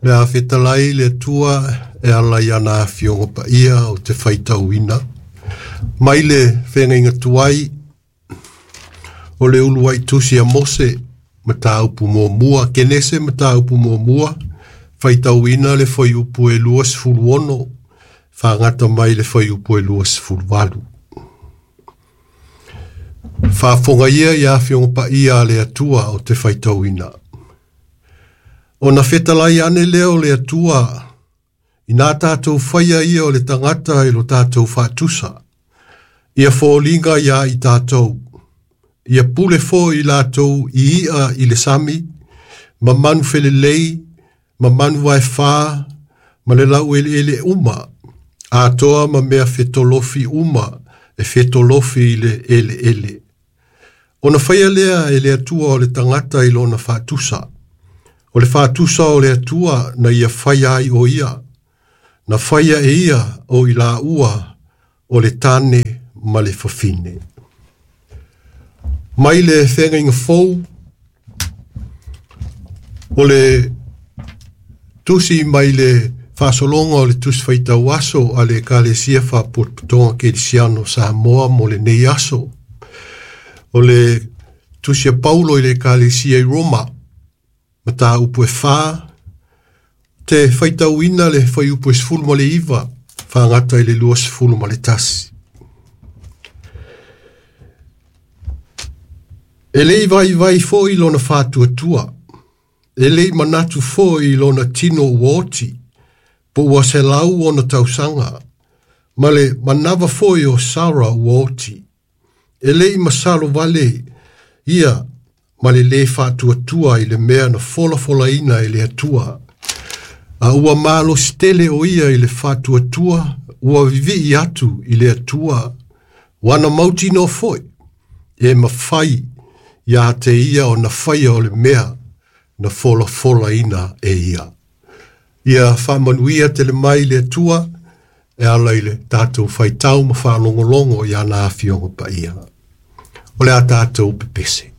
Le a fetalai le Atua e ala i ana afioga paia o te faitauina. Mai le feagaiga tuai o le uluai tusi a Mose, mataupu muamua, Kenese mataupu muamua, faitauina le fuaiupu e 26, faagata mai le fuaiupu e 28. Faafofoga ia i afioga paia a le Atua o te faitauina. Ona fetalai ane lea o le Atua, ina tātou faia ia o le tagata i lo tātou faatusa, ia foliga ia i tātou, ia pule foi i latou i ia i le sami, ma manu felelei, ma manu vaefā, ma le laueleele uma, atoa ma mea fetolofi uma e fetolofi i le eleele. Ona faia lea e le Atua o le tagata i lona faatusa. O le faatusa o le Atua na ia faia ai o ia, na faia e ia o i laua o le tane ma le fafine. Mai le feagaiga fou o le tusi mai le faasologa o le tusi faitau aso a le Ekalesia Faapotopotoga Kerisiano Samoa mo lenei aso. O le tusi a Paulo i le Ekalesia i Roma, mataupu e 4, te faitauina le fuaiupu e 19, faagata i le 21. E le i vaivai foi lona faatuatua, e le i manatu foi i lona tino ua oti, po ua 100 ona tausaga, ma le manava foi o Sara ua oti. E le i masalo vale ia ma le lē faatuatua i le mea na folafolaina e le Atua. A ua malosi tele o ia i le faatuatua, ua vivii atu i le Atua, ua na mautinoa foi, e mafai ia te ia ona faia o le mea na folafolaina e ia. Ia faamanuia tele mai le Atua e ala i le tātou faitau ma faalogologo i ana afioga paia. O le a tātou pepese.